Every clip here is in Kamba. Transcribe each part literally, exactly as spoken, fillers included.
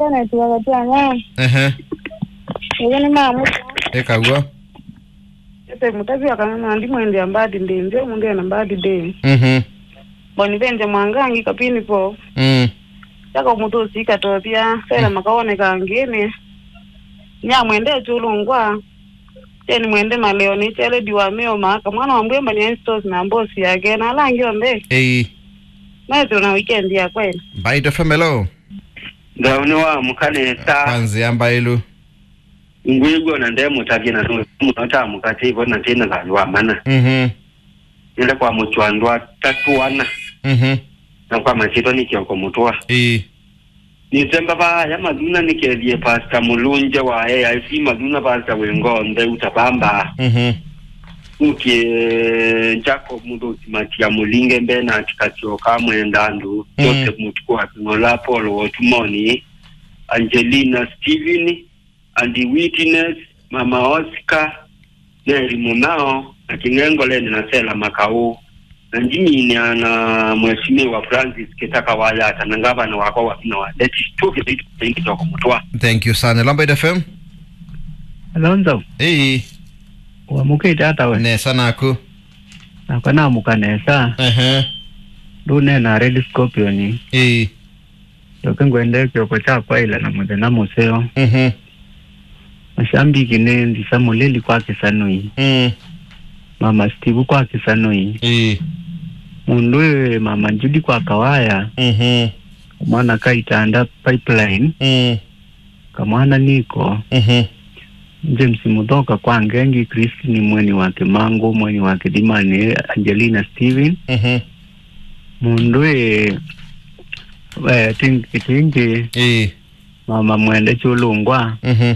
Janet wa Gatwanya. Ehe. Ĩyo nĩ mamu. Ĩkaw'o. Ete mũtavi wa kana na ndimwendea birthday nzeo, mũndũ ena birthday. Mhm. Bonivenja Mwangangi kapini po. Mm. Chako mũtũsi katothia, Sera Makaone kangĩnĩ. Nyamwendete ũlũngwa. Jeni Mwende Maleo nĩ Chaledi wa Meo Maka, mwana wa Mbwemba nĩ Stores na mbosi yake, na ala angĩ onthe. Ei. Methĩwe na weekend ya kweli. Mbaitũ F M, hello. Nthau nĩ wa mũka nesa. Kwanzĩa mbaĩlu. Ngwĩw'a na ndemũtavye na nũndũ mũno ta mũkatĩvo na tĩna thayũ wa mana. Mhm. Nĩle kwa mũtwa andũ atatũ ana. Mhm. Na kwa masyĩtwa nĩ Kioko Mũtũa. Ĩĩ. Nĩtemba vaaya Mathuna nĩkethie Pastor Mũlũngya wa A I C Mathuna, Pastor wĩ ngoo ntheu ta vamba. Mhm. Nũkie Jacob Mũthũki Matia Mũlinge, Bernard Katioka Mwenda Andũ, Mm. Joseph Mũtuku wa Kĩng'ola, Paul Wotumoni, Angelina Steven, Andy Witness, Mama Oscar, Mary Mũnao, na Kĩng'engoleni na Sela Makau, na Jimmy na, na Mheshimiwa Francis Kĩtaka Wayata, na ngavana wakwa wa vinya wa Ndeti, tũkĩthĩitũkĩtoko mũtwa. Thank you sana. Lamba F M. Alonzo. Hey. Wamũkĩte ata we? Nesa naku. Nakwa namũka nesa. Ehe. Ndũneena Red Scorpion. Hey. Ndoke ngwende kĩoko kya kwaĩla na mũthenya mũseo. Mhm. Mashambiki nĩ Ndisa Mũlili kwa Kĩsanũi. Mm. Mama Steve kwa Kĩsanũi. Ĩĩ. Mũndũ ĩ Mama Judy kwa Kawaya. Mhm. Mwana Kaitanda Pipeline. Mm. Kamwana Niko. Mhm. James Muthoka kwa Ngengi, Christine Mweni wa Kimangu, Mweni wa Kithimani, Angelina Steven. Mhm. Mundu ĩ, eh, Tingi Kitingi, Ĩĩ. Mama Mwende Chulungwa, Mhm.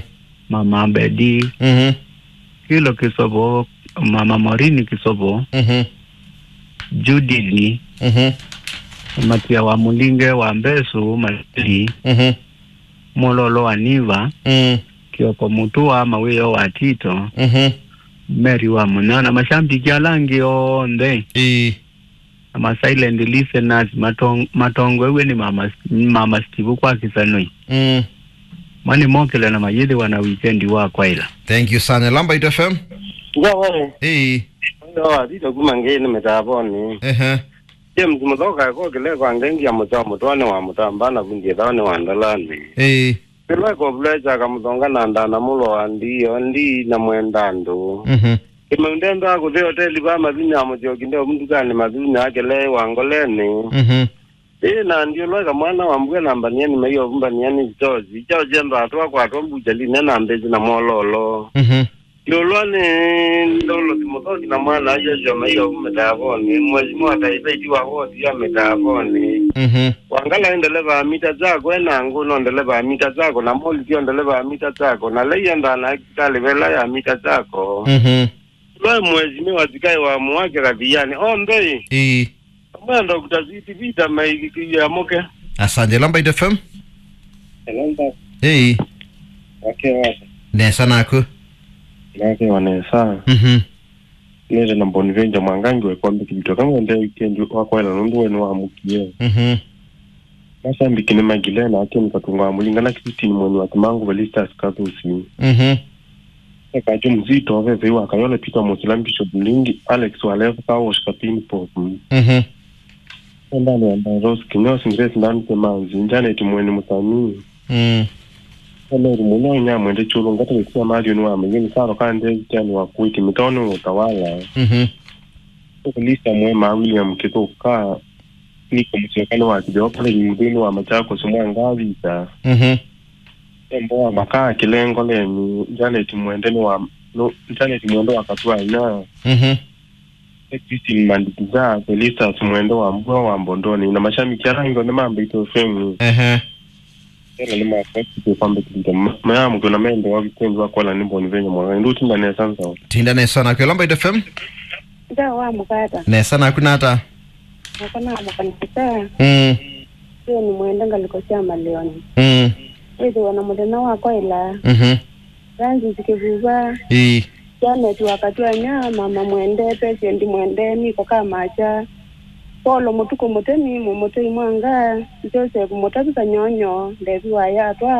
Mama Bedi, Mhm. Kilo Kisovo, Mama Morini Kisovo, Mhm. Judith, Mhm. Matia wa Mulinge wa Mbesu, Matili, Mhm. Mololo wa Niva, Mm. Kioko Mutua, Mawĩo wa Tito, Mhm. Mary wa Munyao, na mashambiki ala angĩ onthe, Ĩĩ. Na ma silent listeners, matong-, matongoew'e nĩ Mama, Mama Steve kwa Kĩsanũi. Mm. Mani mokĩle na mayĩthĩwa na weekend wa kwaĩla. Thank you sana. Lamba F M. Ndio wewe. Ĩĩ. Ndio wazito kuma ngeni mitavoni. Ehe. James Muthoka ko kile kwa ngengi ya Mutao Mutwani wa Mutamba na vundi thao ni wa Ndalani. Ĩĩ. Kĩlwa kovulwa kyaka Mũthonga na ndana mũlo wa ndii, o ndii na mwenda andũ. Mhm. Kĩmeu ndendaa kũthi oteli va Mathunya, Mũsyoki ndeũvu ndukanĩ Mathunya, akĩle wa Ngoleni. Mhm. Ĩĩ, na ndiũlwa eka mwana wa mbua na mbaniani maiovu mbaniani George. Kyaũ kyenda atwa kwatwa mbuchalinĩ na mbĩsĩ na mwololo. Mhm. Ndiũlwa nĩ Ndolosi Mũthoki na mwana Joshua maiovu mĩtavonĩ. Mheshimiwa Taifa itiwa wodi ya mĩtavonĩ. Mhm. Wangala nĩ ndeleva wa mita zako, ena ngũ no ndeleva wa mita zako, na Molly sio ndeleva wa mita zako, na Lei endaa na sikalĩ vela ya mita zako. Mhm. Lwa mwezi nĩ wasikai wa mwake kathiani. Onthe ĩ. Ĩĩ. Amwe Doctor Sweet Vita maikikie amoke. Asante. Lamba F M. Lamba. Ĩĩ. Wake wasa. Nesa naku. Nake wanesa. Mhm. Nĩte na Bonvenja Mwangangi wekombe kĩvito kamwe nde weekend wakwaĩla nũndũ we nĩwamũkie. Mhm. Masambiki nĩ Magilena, Akim Katunga wa Mũlinga na Christine Mweni wa Kimangu, Velistas Kathusi. Mhm. Ekajo Mzito, Vevei wa Kayole, Peter Musila, Bishop Mlingi, Alex wa Levo, Kawosh Kapini Pop. Mhm. Endani ya Rose Kinyosi, Grace Ndani Kemanzi, Janet Mweni Musanii. Mm. Emeru mũno inya mwende chulu ngata sia Marion wa Mayeni, Saro Kande, Tiani wa Kuiti, Mitoni wa Utawala. Mhm. Lisa Mwema, William Kithuka, Niko Mũsyoka nĩ wa Kĩtheo College mũthĩnĩ wa Machakos mwa Ngavisa. Mhm. Tembo wa Makaa Kĩlengo Leni, Janet Mwende nĩ wa, no, Janet Mwende wa Katwanya. Mhm. Christine Manditiza, Felistas Mwende wa Mbua wa Mbondoni, na mashabiki ala angĩ onthe ma Mbaitu F M. Ehe. Ela nĩ makwatĩte kwambĩkĩlĩte ma-, mayamũkĩwa na mende wa weekend wa kwala nĩ Bonvenja Mwangangi. Ndutinda nesa nzao. Tinda nesa naku. Lamba F M. Nzao wa mũkata. Nesa naku nata. Nako na mũkanisa. Mm. Sio nĩ mwenda ngaliko cia maleoni. Mm. Wĩthĩwa na mũthenya wa kwaĩla. Mhm. Francis Kĩvuva. Ĩĩ. Janet wa Katwanya, Mama Mwende, Patient Mwende, Niko Kamacha. Volo Mũtukũ Mũtemi, Mũmũtei Mwanga, Joseph Mũtavi Kanyonyo, Ndevi wa Yatwa,